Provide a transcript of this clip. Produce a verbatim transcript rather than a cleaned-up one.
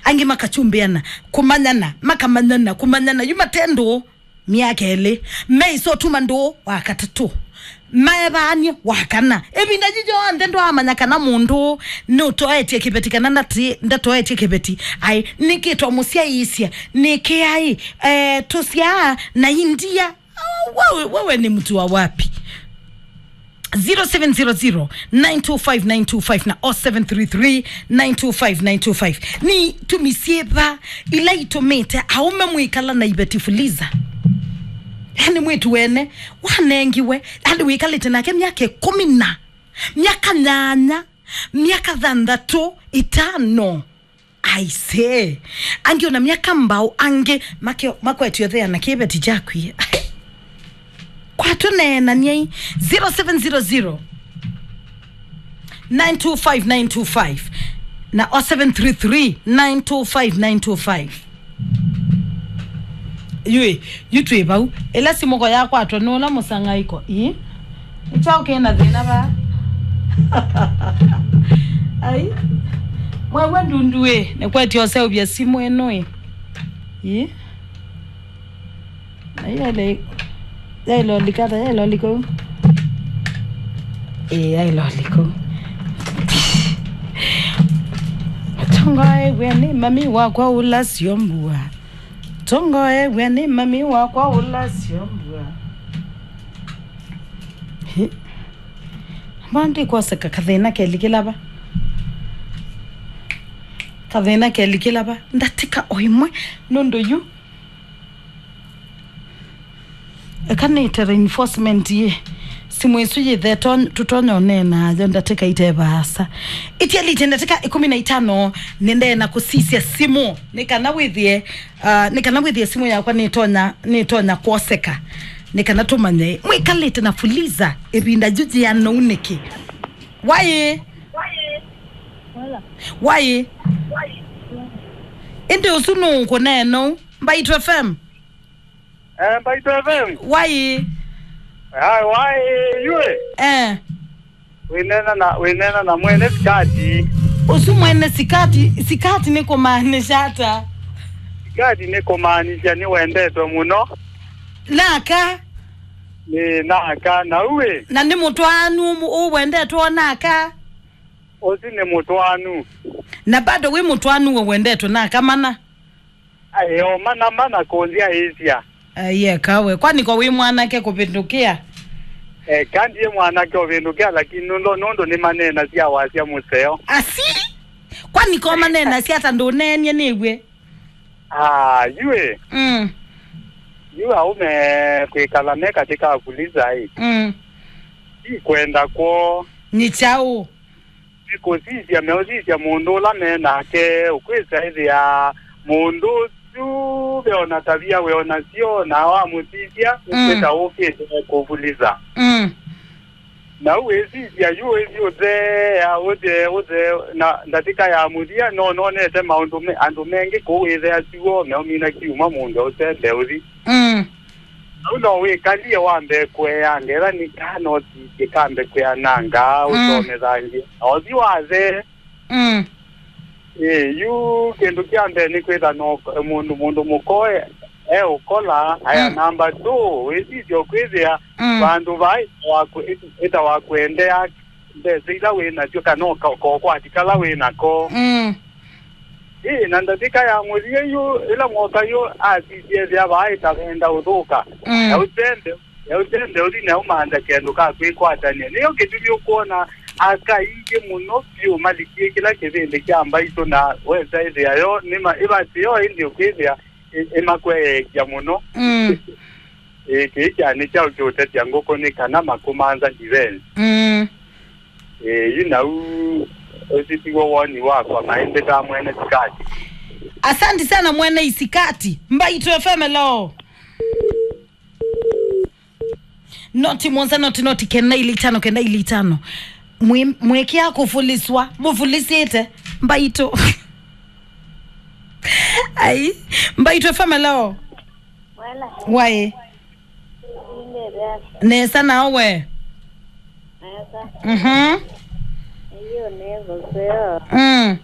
Angĩ makachumbĩana, kũmanyana, makamanyana, kũmanyana, yu mate ndũũ myaka ĩlĩ, meisotuma ndũũ wa katatũ, maevaanie wa kana. Ĩvinda yu yonthe ndwaamanya kana mũndũ ũũ nĩũtoetye kĩveti kana ndati-, ndatoetye kĩveti. Ai, nĩkĩ twamũsyaĩĩsya? Nĩkĩ ai, eh, tũsyaa na india? Wewe, wewe ni mtu wa wapi? Zero seven zero zero, nine two five, nine two five na oh seven three three, nine two five, nine two five. Nĩ tumi syĩva ila itũmĩte aũme mwĩkala na iveti fuliza? Yani mwĩtu wene wanengiwe, yani wĩkalĩte nake myaka ĩkũmi na, myaka nyanya, myaka thanthatũ, ĩtano. Aisee. Angĩ ona myaka mbau, angĩ make-, makwetio thea na kĩveti kyakwie. Kwa tũneenany'ei, zero seven zero zero, nine two five, nine two five na oh seven three three, nine two five, nine two five. Yui, yu twĩ vau. Ĩla simũ ko yakwatwa nĩ ũla mũsang'aĩko. Ii? Nĩ kyaũ kĩ na thĩna vaa? Ai. Mwewe ndundu ĩ, nĩkwetya ũseũvya simũ ĩno ĩ. Ii? Na yaile, yaile ũlika ata, yaile ũlika ũu. Ĩĩ, yaile ũlika ũu. Tongoew'e nĩ mami wakwa ũla sio mbua. Tongoew'e nĩ mami wakwa ũla sio mbua. Hi. Mbona ndikwoseka kathĩna kelikĩla va? Kathĩna kelikĩla va? Ndatĩka o ĩmwe nũndũ yu. Eka nĩte reinforcement yĩ. Simũ ĩsu yĩthe to-, tũtonya ũneena yo ndatĩka ite vaasa. Itialĩte ndatĩka ĩkũmi na itano nĩndee na kũsisya simũ. Nĩ kana wĩthĩe, ah, nĩ kana wĩthĩe simũ yakwa nĩtonya, nĩtonya kwoseka. Nĩ kana tũmanye. Mwĩkalĩte na fuliza ĩvinda yu yĩana ũu nĩkĩ? Waĩ? Waĩ? Ĩndĩ ũsu nũũ ũkũneena ũu? Mbaitũ F M? Eh, Mbaitũ F M. Waĩ? Ai, waĩ, yue. Eh. Wĩneena na, wĩneena na mwene sikati. Ũsu mwene sikati, sikati nĩ kũmaanisha ata? Sikati nĩ kũmaanisha nĩwendetwe mũno. Naka? Nĩ naka, na uĩ? Na nĩ mũtwaanu ũmũ-, ũwendetwe o naka? Ũsu nĩ mũtwaanu. Na bado wĩ mũtwaanu we wendetwe naka mana? Aĩ, o mana, mana kũnzyaĩĩsya. Aiye kawe. Kwani ko wĩ mwanake kũvĩndũkĩa? Eka ndiĩ mwanake ũvĩndũkĩa, lakini nũndũ, nũndũ nĩmaneenasya wasya mũseo. Asi? Kwani ko maneenasya ata ndũneenie nĩw'e? Ah, yue. Mm. Yu aũme kwĩkala me katĩ ka fuliza ĩ. Mm. Ti kwenda kwoo. Nĩ kyaũ? Nĩ kũsisya meũsisya mũndũ ũla me nake, ũkwĩsa ĩthĩa mũndũ ũsu ve ona tavia we onasyo, na wamũsisya, mm, ũkwĩta ũkĩte kũvuliza. Mm. Na ũwĩsisya yu wĩthi ũthea, ũthee, ũthee, na ndatĩka ya mũthia, no nonete maũndũ me, andũ mengĩ kũu wĩthea siw'o, meũmina kiuma mũndũ ũsembe ũthi. Mm. Au no wĩkalie wambe kũea ngetha nĩ kaa no sisye kambe kwĩananga, mm, ũsomethangĩ. Na ũthi wathee. Mm. Ĩ, yu kĩndũ kya mbee nĩ kwĩtha no mũndũ, mũndũ mũkoe e ũkola, aya, mm, namba two, wĩsisye ũkwĩthĩa, mm, vandũ vaa ĩtawa kũ-, ĩtawa kũendea mbesa ila wĩ nasyo kana ũka-, kokwati kala wĩ nako. Mm. Ĩĩ, na ndatĩka ya mũthia yu, ĩla mwoka yu asisye ethĩa vaa ĩtavenda ũthũka. Mm. Yaũsende, yaũsende ũthi na ũmantha kĩndũ ka kwĩkwatany'a. Nĩyo kĩtumi ũkwona aka aingĩ mũno vyũ malikie kĩla kĩvĩndĩ kya mbaitũ na wesa ĩthĩa yo, nĩma ĩvasĩ yo ĩndĩ ũkwĩthĩa ĩ-, ĩmakweeekya mũno. Mm. Ĩĩ, kĩĩ kyanĩ kyaũ kĩũtetya ngũkũ nĩ kana makũmantha defense. Mm. Ĩĩ, yu nau ũsu tiw'o woni wakwa, maĩmbĩtaa mwene sikati. Asante sana mwene isikati. Mbaitũ F M, hello. Noti mũonza, noti, noti, kenda ili itano, kenda ili itano. Mwi-, mwĩkĩa kũvuliswa, mũvulisĩte. Mbaitũ. Ai, Mbaitũ F M, hello. Wala. Waĩ? Inde vyasa. Nesa nao we? Nesa. Mhm. Iyo nĩ gũseo. Mm.